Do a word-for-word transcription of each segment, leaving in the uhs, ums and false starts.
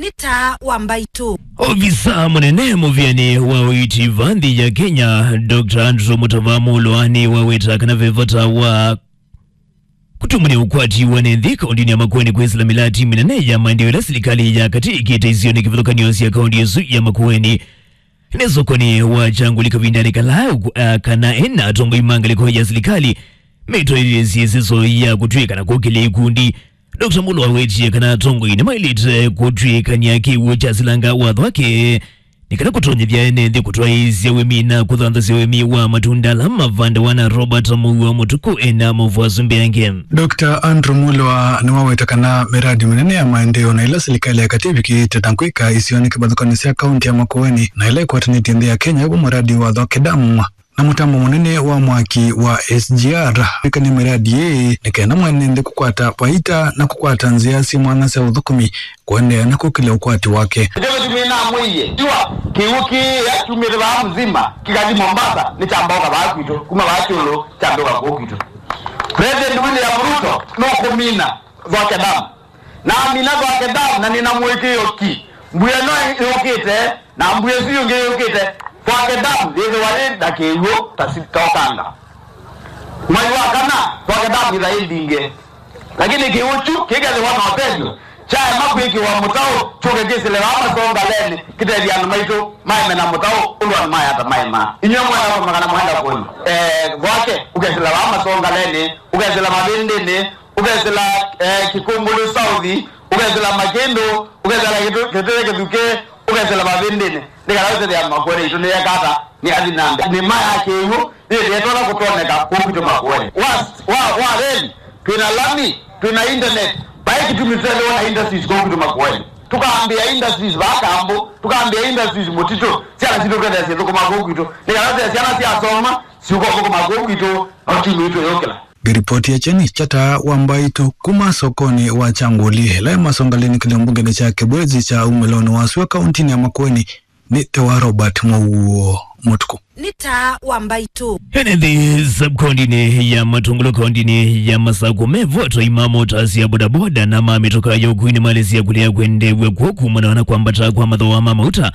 Nĩ taa wa mbaitũ. Ovisa mũnene mũvĩanĩ wa ũiiti va nthĩ ya Kenya, Doctor Andrew Mutava Mulo nĩwaweta kana ve vata wa kũtumũnĩa ũkwati wa ene nthĩ kaũntĩnĩ ya Makueni kwĩsĩla mĩlati mĩnene ya maendeeo ĩla silikalĩ ya katĩ ĩkĩte isionĩ kĩvathũkany'o sya kaũntĩ ĩsu ya Makueni. Nĩ sokonĩ wa Kyanguli kavindanĩ kala ũku-, a, kana ena atongoi ma ngalĩko ya silikalĩ metwaĩlĩsye ĩsĩso ya kũtw'ĩka na kũkĩlya ikundi. Doctor Mulo awetie kana atongoi nĩmaĩlĩte kũtw'ĩkany'a kĩw'ũ kya silanga watho wake nĩ kana kũtonyethya ene nthĩ kũtwaĩĩsya ũĩmi na kũthanthasya ũĩmi wa matunda ala mavandawa na Robert Mũuo Mũtuku ena mũvwasu mbee angĩ. Doctor Andrew Mulo nĩwaweta kana mĩradi mĩnene ya maendeeo na ĩla silikalĩ ya katĩ ĩvikĩĩte na kwĩka isionĩ kĩvathũkany'o sya kaũntĩ ya Makueni na ĩla ĩkwatanĩtye nthĩ ya Kenya, ĩvo mũradi wa Thwake Dam na mũtambo mũnene wa mwaki wa S G R. Wĩkany'a mĩradi ĩĩ nĩ kenda mwene nthĩ kũkwata vaita na kũkwata nzĩa syĩ mwanya sya ũthũkũmi kũendeea na kũkĩlya ũkwati wake. Nĩkyo kĩtumi namwĩie, tiwa kĩw'ũ kĩĩ kyumĩte vaa Mzima kĩkathi Mombasa, nĩkyambauka vaa kwitũ, kuma vaa kyũlũ kyambĩũka kũu kwitũ. President William Ruto nũkũmina Thwake Dam. Namina Thwake Dam na nĩna mũĩkĩĩo ki. Mbua ĩno yũkĩte, na mbua ĩsu yĩngĩ yũkĩte, Thwake Dam yĩthĩwa yĩ na kĩw'ũ ta si-, ta ũkanga. Mwai wa kana, Thwake Dam yĩtha yĩthinge. Lakini kĩw'ũ kyu kĩkethĩwa na ũtethyo, kyaema kwĩkĩwa mũtaũ, kyũke kĩsĩle vaa Masongaleni, kĩtethye andũ maitũ maeme na mũtaũ, ũndũ andũ mayata maema. Inyw'ĩ mwenda kũmanya kana mwenda kũema. Eh, Thwake, ũkesĩla vaa Masongaleni, ũkesĩla Mavĩndĩnĩ, ũkesĩla, eh, Kĩkũmbũlũ South, ũkesĩla Makĩndũ, ũkesĩla Kĩtũ-, Kĩtũĩ Kĩthukĩ, ũkesĩla Mavĩndĩnĩ. Nĩ kana ũtethya Makueni itũ nĩyeka ata, nĩ athi na mbee. Nĩma ya kĩw'ũ yĩthĩetwe ũla kũtoneka kũu kwitũ Makueni. Wa, wa, wa reli, twĩna lami, twĩna internet, vai kĩtumi tũtethĩwa na industries kũu kwitũ Makueni. Tũkambĩa industries vaa Kambũ, tũkambĩa industries Mũtitũ, syana sitũ twendea syĩthũkũma kũu kwitũ. Nĩ kana ũtethya syana syasoma, siũka ũthũkũma kũu kwitũ, na ũtumi witũ yũkĩla. Ngĩripoti ya Kyeni kya Taa wa Mbaitũ kuma sokonĩ wa Kyangũli, ĩla ĩ Masongaleni kĩlĩo mbungenĩ kya Kĩbwezi kya umĩlonĩ wa sua kaũntĩnĩ ya Makueni, nĩ te wa Robert Mũuo Mũtuku. Nĩ Taa wa Mbaitũ. Ene nthĩ sub-kaũntĩnĩ ya Matũngũlũ kaũntĩnĩ ya Masakũ mevo atwai ma mota sya bodaboda na ma mĩtoka ya ũkui nĩmalesya kũlea kwendeew'a kw'o kumana na kwambata kwa mathooa ma mauta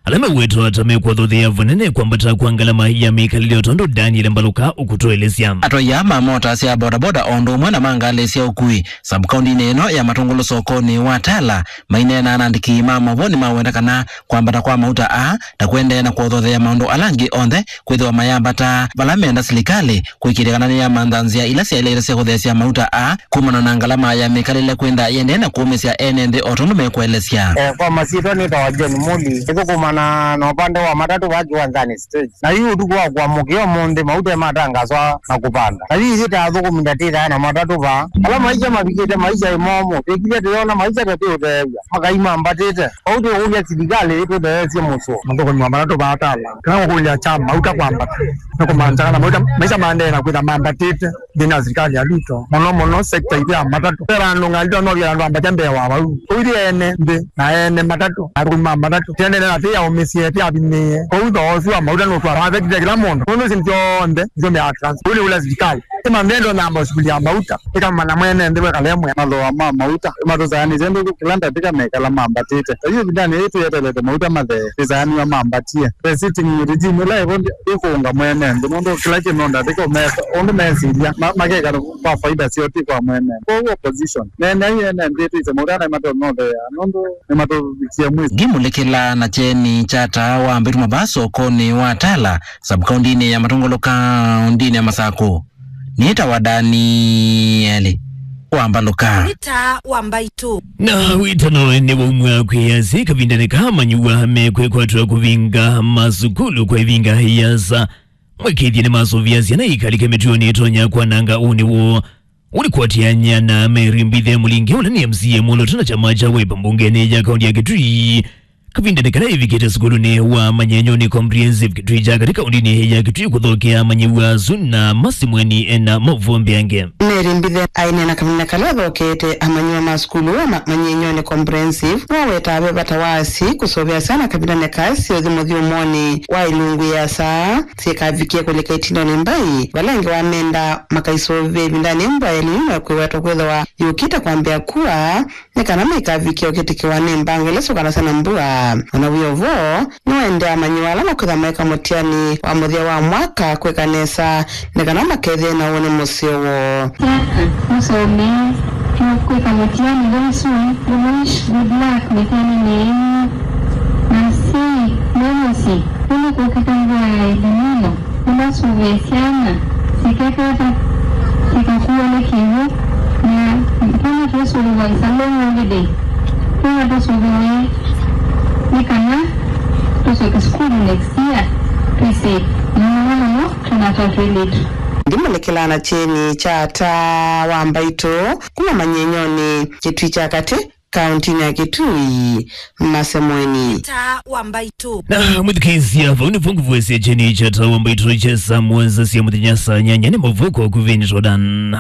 ala mewetwa ta mekũathothea vanene kwambata kwa ngalama ya mĩkalĩle, o tondũ Daniel Mbaluka ũkũtũelesya. Atwai aa ma mota sya bodaboda o ũndũ ũmwe na ma ngalĩ sya ũkui sub-kaũntĩnĩ ĩno ya Matũngũlũ sokonĩ wa Tala maineena na andĩki ma maũvoo nĩmaweta kana kwambata kwa mauta aa ta kũendeea na kũathothea maũndũ ala angĩ onthe kwĩthĩwa mayambata vala menda silikalĩ kũĩkĩĩthya kana nĩyamantha nzĩa ila syaĩlĩte sya kũtheesya mauta aa kumana na ngalama ya mĩkalĩle kwĩntha yĩendee na kũũmĩsya ene nthĩ o tondũ mekũelesya. Eh, kwa masyĩtwa nĩtawa John Muli. Nĩthũkũmana na ũvande wa matatũ vaa kĩwanzanĩ stage. Na yu ũtukũ wa kũamũkĩa ũmũnthĩ, mauta ematangaswa na kũvanda. Na yu ithyĩ ta athũkũmi ndatĩthaa na matatũ vaa. Ala maisha mavikĩte maisha ĩ momũ. Twĩkilye tũyona maisha tatĩ ũtheew'a. Makai mambatĩte. Vau twĩkũlya silikalĩ ĩtũtheesye mũsyo. Mathũkũmi ma matatũ vaa Tala. Kana kũkũlya kya mauta kwambata. Nĩ kũmantha kana mauta, maisha maendee na kwĩtha mambatĩte nthĩnĩ wa silikalĩ ya Ruto. Mũno mũno sekta itũ ya matatũ. Ve vandũ ngalĩ no vya andũ ambatya mbee wa vau. Ũithi ene nthĩ na ene matatũ. Athũkũmi ma matatũ. Tiendele na tĩ ya ũmĩsye, tĩ athimĩe. Kwoou thooa ũsu wa mauta nũtwa affectĩte kĩla mũndũ. Nũndũ ici nĩ syonthe, nĩsyo mea trans. Ũu nĩ ũla silikalĩ. Ĩmanthe ndo namba sukuli ya mauta. Ĩkamana mwene nthĩ wekalemwe. Mathooa ma mauta. Matũsaanĩsye nthĩ kĩla ndatĩka mekala mambatĩte. Yu ĩvindanĩ yĩĩ twĩetelete mauta mathee. Ĩsaanĩwa mambatie. The sitting regime ĩla ĩvo ndĩ-, ĩkũũnga mwene nthĩ. Nũndũ kĩla kĩndũ ndatĩka ũmesa. Ũndũ mesilya. Ma-, makeka kwa faida syoo ti kwa mwene. Kwoou opposition. Neeneai ene nthĩ twĩse mauta na matonothea. Nũndũ nĩmatũvikie mwĩso. Ngimũlĩkĩla na kyeni kya Taa wa Mbaitũ mavaa sokonĩ wa Tala, sub-kaũntĩnĩ ya Matũngũlũ kaũntĩnĩ ya Masakũ. Nĩtawa Danieli wa Mbaluka. Nĩ Taa wa Mbaitũ. Na wĩtano nĩwaumw'a kwĩ asyai kavindanĩ kaa manyuwa mekwĩkwatw'a kũvinga masukulu kwa ĩvinga ĩasa. Mwĩkĩĩthye nĩmasũvĩa syana ikalike mĩtuonĩ ĩtonya kwananga ũnĩ woo. Ũlikũatĩany'a na Mary Mbithe Mũlinge, ũla nĩ M C A mwolooto na kyama kya Wiper mbungenĩ ya kaũntĩ ya Kitui, Kavindanĩ kala ĩvikĩte sukulunĩ wa Manyenyoni Comprehensive Kitui kya katĩ kaũndĩnĩ ya Kitui kũthokea amanyĩw'a asu na Masemweni ena maũvoo mbeange. Mary Mbithe aineena kavindanĩ kala athokeete amanyĩw'a ma sukulu wa Ma-, Manyenyoni Comprehensive, nĩwawetaa ve vata wa asyai kũseũvya syana kavindanĩ kaa syĩ ũthi mũthyũmũonĩ wa ilungu ĩasa syĩkavikie kũlika ĩtindonĩ mbai, vala angĩ wamenda makaisũvĩa ĩvindanĩ mbua ya El Nino kwĩwetwa kwĩthĩwa yũkĩte kwambĩa kua, nĩ kana maikavikie ũkĩtĩkĩwa nĩ mbanga ila syũkanasya na mbua. O na wĩ o vo, nĩwaendee amanyĩw'a ala makwĩtha maeka mũtiani wa mũthya wa mwaka kwĩka nesa nĩ kana makethĩe na ũnĩ mũseo woo. Syana mũsomee kwĩka mũtiani very soon. We wish good luck mĩtianinĩ yenyu. Na asyai me mũsyĩ, nũndũ kũkĩte mbua ya El Nino, nĩmasũvĩe syana sikekata sikakuwa nĩ kĩw'ũ, na kana twĩsũvĩwa nza long holiday, kana tũsũvĩwe nĩ kana tũsyoke sukulu next year twĩsĩ mũno mũno twĩna twa twĩlĩtu. Ndimũnĩkĩlaa na kyeni kya ata wa Mbaitũ kuma Manyenyoni, Kitui kya katĩ, kaũntĩnĩ ya Kitui, Masemweni. Taa wa Mbaitũ. Na mwĩthukĩĩsya, vau nĩvo ngũvoesya kyeni kya taa wa Mbaitũ kya saa mũonza sya mũthenya, saa nyanya nĩ mavuko kuveni Jordan.